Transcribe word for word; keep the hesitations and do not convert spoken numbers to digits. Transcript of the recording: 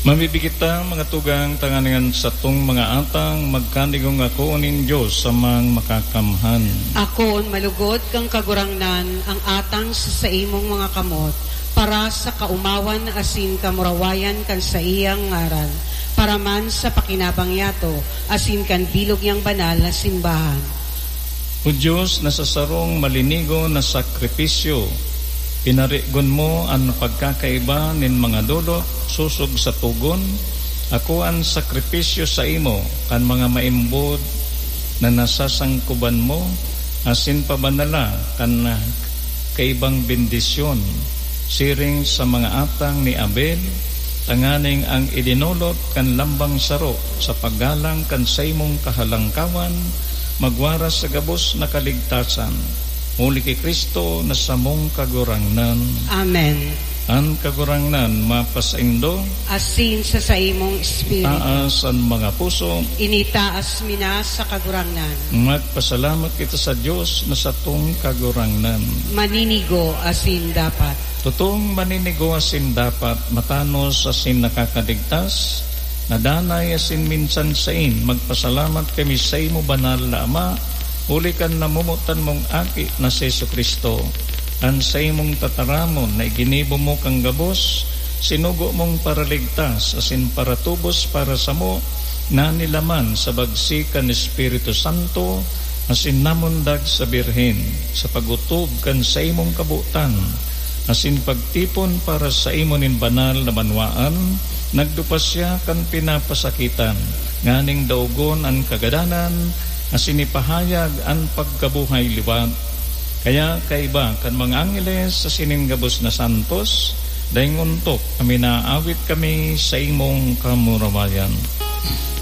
Mamibigit ta, mga tugang, tanganing an satong mga atang magkanigong ako nin Dios sa mga makakamhan. Akoon malugod kan Kagurangnan ang atang sa saimong mga kamot, para sa kaomawan asin kamurawayan kan saiyang ngaran, para man sa pakinabang yato asin kan bilog niyang banal na simbahan. O Dios, na sa sarong malinigo na sakripisyo, pinarigon mo an pagkakaiba nin mga dolok sosog sa togon, ako an sakripisyo saimo kan mga maimbod na nasasangkoban mo, asin pabanala kan kaibang bendisyon, siring sa mga atang ni Abel, tanganing ang idinolot kan lambang saro sa paggalang kan saimong kahalangkawan, magwaras sa gabos na kaligtasan. Huli ki Cristo na samong Kagurangnan. Amen. An Kagurangnan mapasaindo. Asin sa saimong espiritu. Taas an mga puso. Initaas mi na sa Kagurangnan. Magpasalamat kita sa Dios na satong Kagurangnan. Maninigo asin dapat. Totong maninigo asin dapat, matanos asin nakakaligtas, na danay asin minsan sain, magpasalamat kami saimo, Banal na Ama, huli kan namomotan mong Aki na si Jesu-Cristo. An saimong tataramon na iginibo mo kan gabos, sinugo mong paraligtas asin paratubos para samo, na nilaman sa bagsik kan Espiritu Santo, asin namundag sa Birhen, sa pag-otob kan saimong kabotan, asin pagtipon para saimo nin banal na banwaan, nagdupa siya kan pinapasakitan, nganing daogon an kagadanan, asin ipahayag an pagkabuhay liwat. Kaya kaiba kan mga angheles asin nin gabos na santos, daing ontok na minaawit kami saimong kamurawayan.